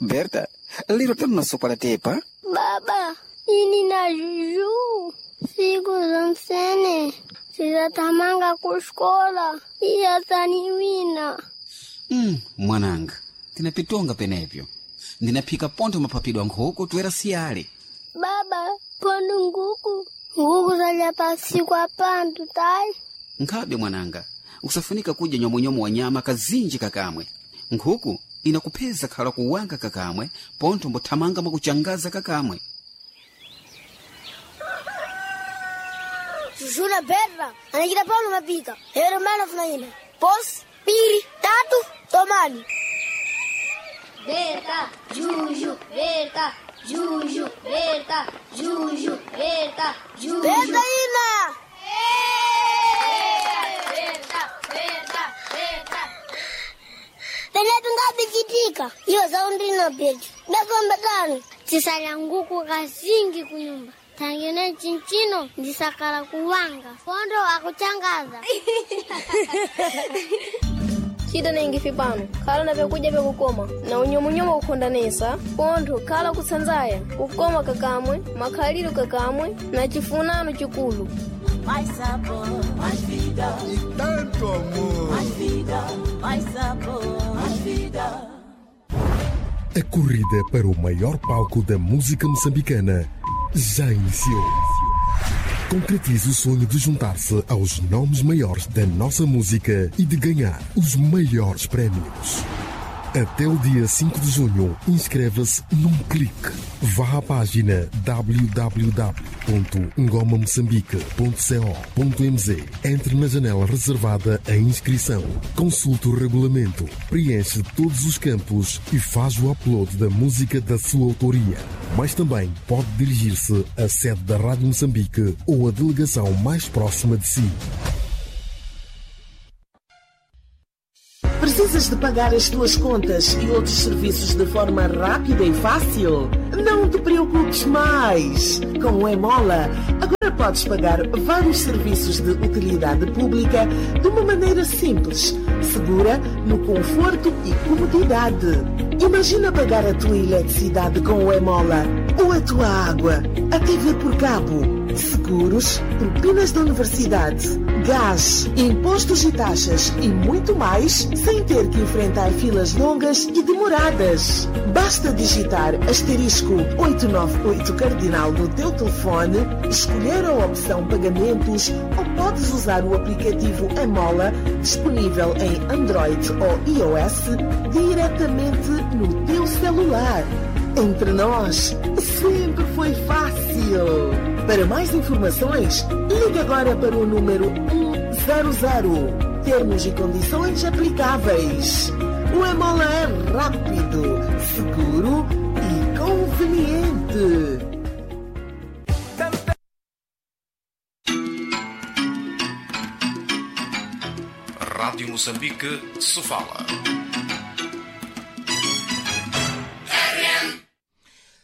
Berta, lero tamunasokola tepa. Baba, ini na Juju siku zonsene sizatamanga kuskola iyataniwina. Mwananga, tinapitonga penepyo, ndinaphika pontho maphapidwa nkhuku toera siyale. Baba, pondo nguku nguku zalya pasiku apandu tayi. Nkhabe mwananga, usafunika kudya nyomonyomo wa nyama kazinji kakamwe. Nkhuku inakupheza khala kuwanga kakamwe, pontho mbothamanga mwakuchangaza kakamwe. Juju na Berta anachita pano mapika hero mana funaina pos piri tatu tomani. Berta, Juju, Berta, Juju, Berta, Juju, Berta, Juju. Berta ina. Berta, Berta, Berta. Penepo ngabichitika iyo zaundina petu ndafamba tano tisalya nguku kazingi kunyumba tangene chinchino ndisakala kuwanga pondo akuchangaza. Cita nengifi pano khala na vyakudya vyakukoma na unyomunyomo kukhondanesa pontho khala kutsanzaya kukoma kakamwe makhaliro kakamwe na chifunano chikulu. Mais sabor, mais vida. E tanto amor. Mais vida, mais sabor, mais vida. A corrida para o maior palco da música moçambicana já iniciou. Concretize o sonho de juntar-se aos nomes maiores da nossa música e de ganhar os maiores prémios. Até o dia 5 de junho, inscreva-se num clique. Vá à página www.ngomamoçambique.co.mz. Entre na janela reservada à inscrição. Consulte o regulamento, preenche todos os campos e faz o upload da música da sua autoria. Mas também pode dirigir-se à sede da Rádio Moçambique ou à delegação mais próxima de si. Precisas de pagar as tuas contas e outros serviços de forma rápida e fácil? Não te preocupes mais! Com o Emola, agora podes pagar vários serviços de utilidade pública de uma maneira simples, segura, no conforto e comodidade. Imagina pagar a tua eletricidade com o Emola, ou a tua água, a TV por cabo, seguros, propinas da universidade, gás, impostos e taxas e muito mais, sem ter que enfrentar filas longas e demoradas. Basta digitar asterisco 898 cardinal no teu telefone, escolher a opção pagamentos ou podes usar o aplicativo Emola, disponível em Android ou iOS, diretamente no teu celular. Entre nós, sempre foi fácil. Para mais informações, ligue agora para o número 100. Termos e condições aplicáveis. O Emola é rápido, seguro e conveniente. Rádio Moçambique, Sofala.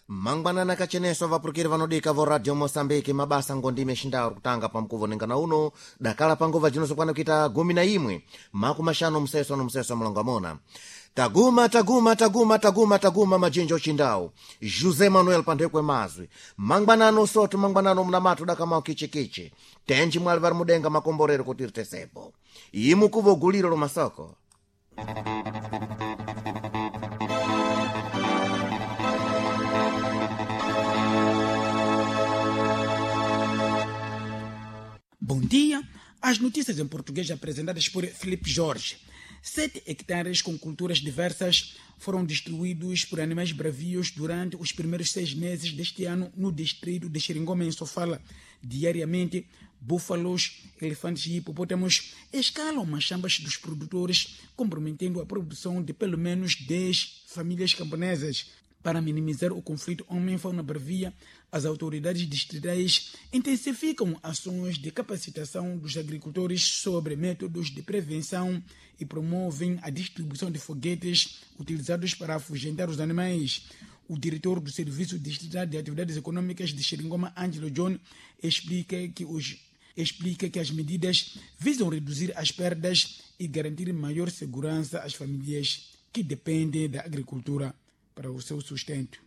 Mangwanana kacheneso vapurukiri vanodika vo Radio Moçambique, mabasa ngondime xindawu kutanga pamkuvo nengana uno dakala panguva jinozokwana kuita 11 makumaxanu mseso no mseso mlongamona. Taguma taguma taguma taguma taguma majinja ochindawu José Manuel Pandekwe mazwi mangwanano soto mangwanano mnamatu dakamao kichikichi tenji mwali vari mudenga makomborero kuti ritesepo imukuvo guliro lomasoko. Bom dia. As notícias em português apresentadas por Felipe Jorge. 7 hectares com culturas diversas foram destruídos por animais bravios durante os primeiros 6 meses deste ano no distrito de Xeringoma, em Sofala. Diariamente, búfalos, elefantes e hipopótamos escalam machambas dos produtores, comprometendo a produção de pelo menos 10 famílias camponesas. Para minimizar o conflito homem-fauna bravia, as autoridades distritais intensificam ações de capacitação dos agricultores sobre métodos de prevenção e promovem a distribuição de foguetes utilizados para afugentar os animais. O diretor do Serviço Distrital de Atividades Econômicas de Xeringoma, Angelo John, explica que as medidas visam reduzir as perdas e garantir maior segurança às famílias que dependem da agricultura. para o seu sustento.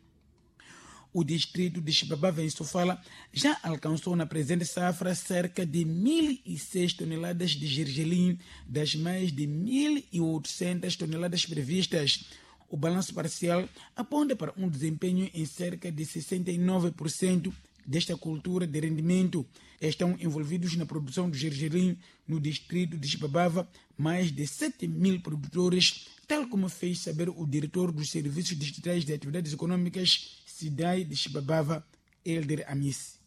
O distrito de Chibabava, em Sofala, já alcançou na presente safra cerca de 1.006 toneladas de gergelim, das mais de 1.800 toneladas previstas. O balanço parcial aponta para um desempenho em cerca de 69% desta cultura de rendimento. Estão envolvidos na produção do gergelim no distrito de Chibabava mais de 7 mil produtores, tal como fez saber o diretor dos Serviços Distritais de Atividades Econômicas, SIDAI de Chibabava, Elder Amis.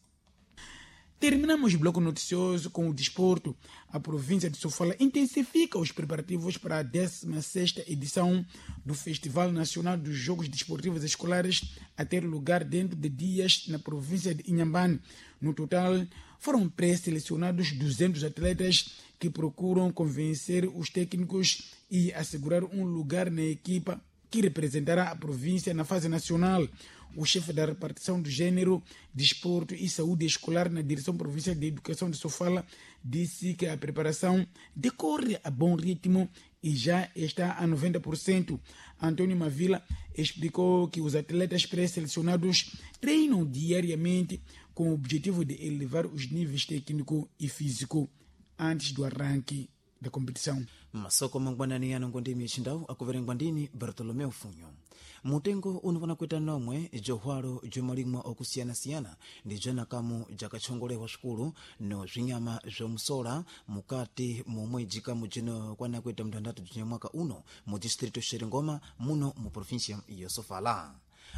Terminamos o bloco noticioso com o desporto. A província de Sofala intensifica os preparativos para a 16ª edição do Festival Nacional dos Jogos Desportivos Escolares, a ter lugar dentro de dias na província de Inhambane. No total, foram pré-selecionados 200 atletas que procuram convencer os técnicos e assegurar um lugar na equipa que representará a província na fase nacional. O chefe da repartição do gênero, desporto e saúde escolar na Direção Provincial de Educação de Sofala disse que a preparação decorre a bom ritmo e já está a 90%. Antônio Mavila explicou que os atletas pré-selecionados treinam diariamente com o objetivo de elevar os níveis técnico e físico antes do arranque da competição. Masoko mangwanani yano ngondimi yachindawu akuverengwa ndini Bartolomeu Funyo. Mutengo unopona kuita nomwe johwalo jomalimwa okusiyana-siyana ndi jwanakamu jakatchongolewa sukulu no zwinyama zwomusola mukati momwe jikamu jino kwana kuita mtandatu jinyamwaka uno mu distrito Xeringoma muno mu província ya Sofala.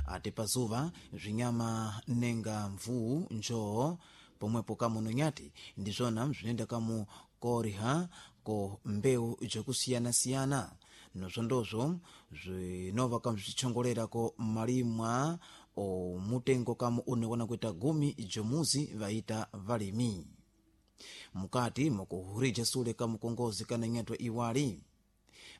Ate pazuva zwinyama nenga mvuu njoo pomwepo kamu nonyati ndizvona bzinenda kamu koriha ko mbewu jokusiyana-siyana nozvondozvo zvinova kamu zvichongolera malimwa o mutengo kamu unokona kuita gumi jomuzi vaita valimi mukati mukuhurija sule kamukongozi kana nyatwa iwali.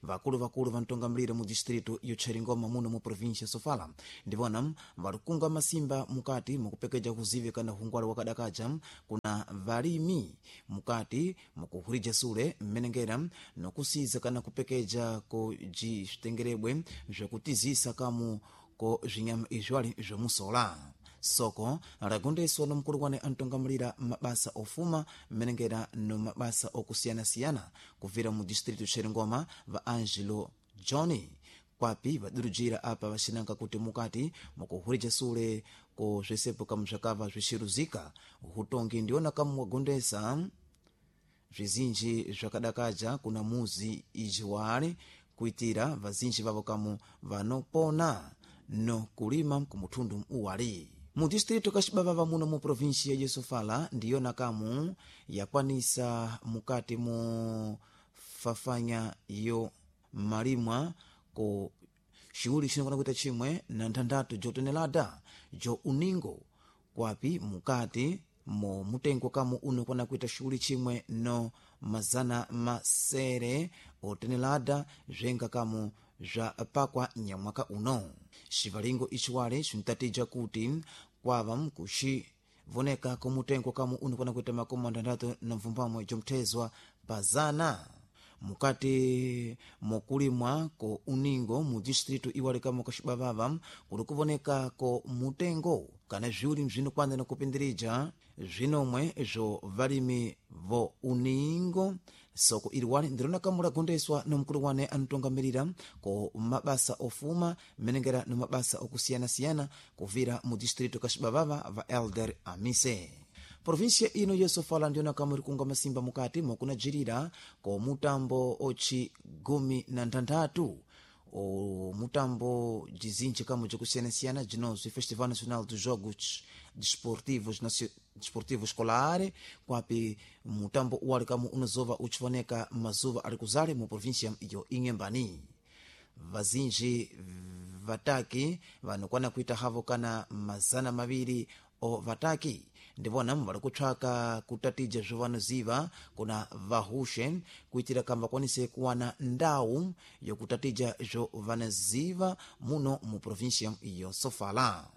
Vakulu-vakulu vantongamilira mu distrito yotcheringoma muno mu província Sofala ndivona varikunga masimba mukati mukupekeja kuzivi kana hungwalo wakadakaja kuna valimi mukati mukuhurija sule mmenengera nokusiza kana kupekeja ko jitengerebwe zvokutizisa kamu ko zvinyama izvali zvomusola. Soko lagondeswa no mkulu wane antongamulira mabasa ofuma mmenengera no mabasa okusiyana-siyana kuvira mu distrito Xeringoma va Angelo Johnny kwapi vadurujira apa vacinanga kuti mukati mukuhurija sule ko zvesepo kamu zvakava zvixiruzika hutongi ndiona kamu wagondesa zvizinji zvakadakaja kuna muzi ijiwale kuitira vazinji vavo kamu vanopona no kulima kumuthundu uwali. Mu distrito kaxibavava muno mu província ya Sofala ndiyona kamu yakwanisa mukati mu fafanya yo malimwa ko shughuli xinokona kuita chimwe na nthandatu jotonelada jo uningo kwapi mukati mo mutengo kamu unokona kuita shughuli chimwe no mazana masere otenelada zvenga kamu zwa pakwa nyamwaka uno. Xivalingo ixiwale xintatija kuti kwava mkuxivoneka kumutengo kamu unokona kuita makumi antandatu na mvumbamwe jomthezwa pazana mukati mokulimwa ko uningo mu distrito iwale kamo kaxibavava kuli kuvoneka ko mutengo kana zviwuli bzinokwana na kupindirija zvinomwe zvo valimi vo uningo. Soko iliwale ndirona kamu lagondeswa no mkulu wane anutongamirira ko mabasa ofuma mmenengera no mabasa okusiyana-siyana kuvira mu distrito kaxibavava va Elder Amise. Província ino yosofala ndiona kamwe rikunga masimba mukati mokunajirira ko mutambo ochi gumi na nthanthatu o mutambo jizinji kamo jokusiyana-siyana jinozwi Festival Nacional dos Jogos Desportivos Desportivo Escolar kwapi mutambo uwali kamo unozova uchivoneka mazuva ari kuzale mu província yo Inhambane. Vazinji vataki vanokwana kuita havo kana 200 o vataki ndivona vari kutsvaka kutatija zvovanoziva kuna vahushe kuitira kamba vakwanise kuwana ndau yokutatija zvovanoziva muno mu província yo Sofala.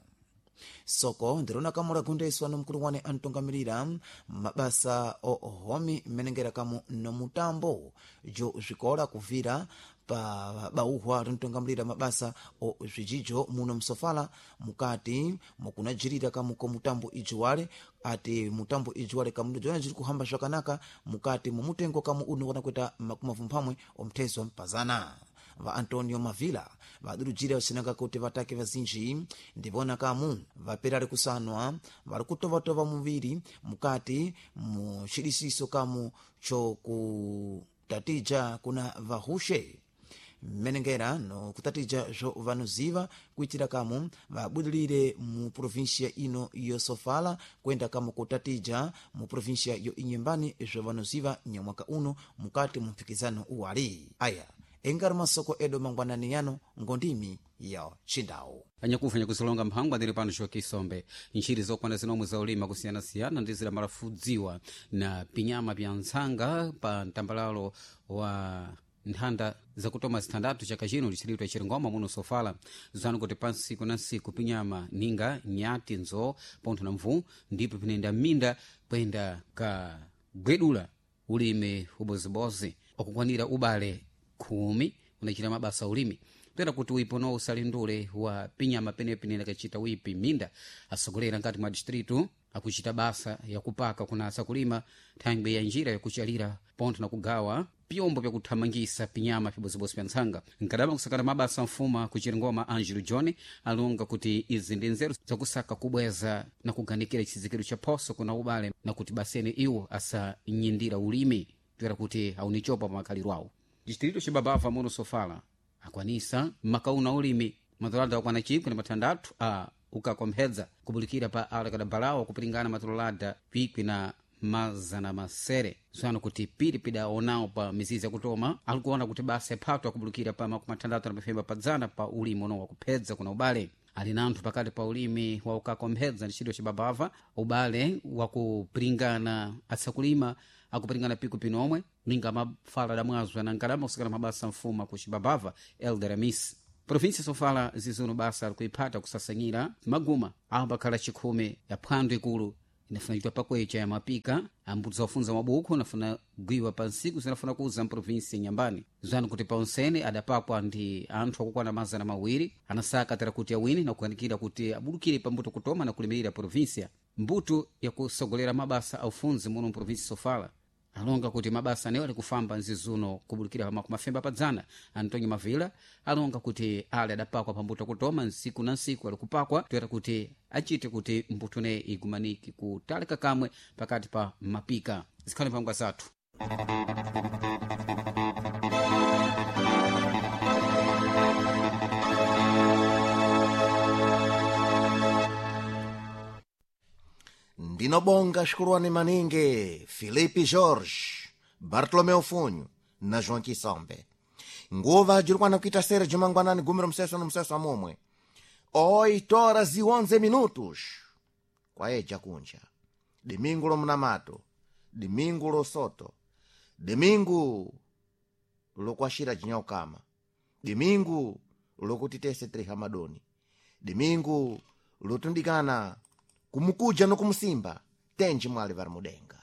Soko ndirona kamu lagundeswa nomkulu wane antongamirira mabasa ohomi mmenengera kamu nomutambo jo zwikola kuvira pa bauhwa lintongamulira mabasa o zwijijo muno msofala mukati mukunajirira kamu ko mutambo ijiwale ati mutambo ijiwale kamu jona jiri kuhamba zvakanaka mukati mumutengo kamu uno wanakweta makumavumphamwe omthezo mpazana. Va Antonio Mavila vadurujira vacinanga kuti vatake vazinji ndivona kamu vapera kusanwa vari kutovatova muviri mukati mucidisiso kamu chokutatija kuna vahushe mmenengera no kutatija zvo vanoziva kuitira kamu vabudilire mu provinsia ino yosofala kwenda kamu kutatija mu provinsia yo Inyembani zvo vanoziva nyamwaka uno mukati mu mpikizano uwali. Aya engari masoko edo mangwanani yano ngondimi ya chindau. Anyakufa nyakusilonga mphangwa ndili pano Joaquim ntchiri zokwana zinomwe za ulima kusiyanasiyana ndi zidamalafudziwa na pinyama pya ntsanga pa mtambalalo wa nthanda zakutoma zithandathu chaka chino lichilitwa chirongoma muno sofala. Zanu kuti pa nsiku na nsiku pinyama ninga nyati nzo pontho na mvuu ndipo pinenda minda kwenda kagwedula ulimi ubozibozi okukwanira ubale 10 unachita mabasa ulimi pera kuti uipono usalindule wa pinyama penepene akachita wipi minda asogolera ngati mwa distritu akuchita basa yakupaka kunasa kulima thangwi ya njira yakuchalira pontho na kugawa pyombo pyakuthamangisa pinyama pibozibozi pya ntsanga. Nkadama kusakana mabasa mfuma kuchirongoma Angelo John alonga kuti izi ndi nzeru zakusaka kubweza na kuganikira chizikiro cha phoso kuna ubale na kuti basene iwo asanyindira ulimi toera kuti aunichopa pa makhaliro awo. Distrito cibabava muno sofala akwanisa makauna ulimi matolada akwana 16 a ukakomphedza kubulikira pa alakadabalawo kupiringana matolada 1700 zano kuti piri pidaonawo pa mizizi yakutoma alikuona kuti basa yaphato akubulukira pa 65 padzana pa ulimi uno wakuphedza kuna ubale ali nanthu pakati pa ulimi wa ukakomphedza ndi chidwi cibabava ubale wakupiringana atsakulima akupiringana piku pinomwe ninga mafala damwazo anankalama kusakana mabasa mfuma ku cibabava Elder Amis provinsia sofala zizuno basa alikuiphata kusasanyira maguma ambakhala chikhumi ya phwando ikulu inafuna chitwa pakwecha ya mapika ambuti zakufunza mabuku anafuna gwiwa pa nsiku zinafuna kuza mprovinsi nyambani zanu kuti paonsene adapakwa ndi anthu akukwana 200 anasaka tera kuti awini na kukanikira kuti abudukire pambuto kutoma na kulimirira provinsia mbuto yakusogolera mabasa aufunzi muno mprovinsi sofala alonga kuti mabasa anewo alikufamba nzizuno kubulukira pa makumafemba padzana. Antonio Mavila alonga kuti ale adapakwa pambuto kutoma nsiku na nsiku alikupakwa toera kuti achite kuti mbuto ne igumaniki kutalika kamwe pakati pa mapika. Zikhale mphangwa zathu. Ndinobonga xikuluwani maningi Filipe Jorge, Bartolomeu Funho na João Kisombe. Nguva jirikwana kuita sere jumangwanani gumi romseso nomseso amomwe 8 horas e 11 minutos kwaeja kunja dimingu lomunamato, dimingu losoto, dimingu lokwashira jinyaukama, dimingu lokuti tese tirihamadoni, dimingu lotundikana kumukuja nokumusimba tenji mwali vari mudenga.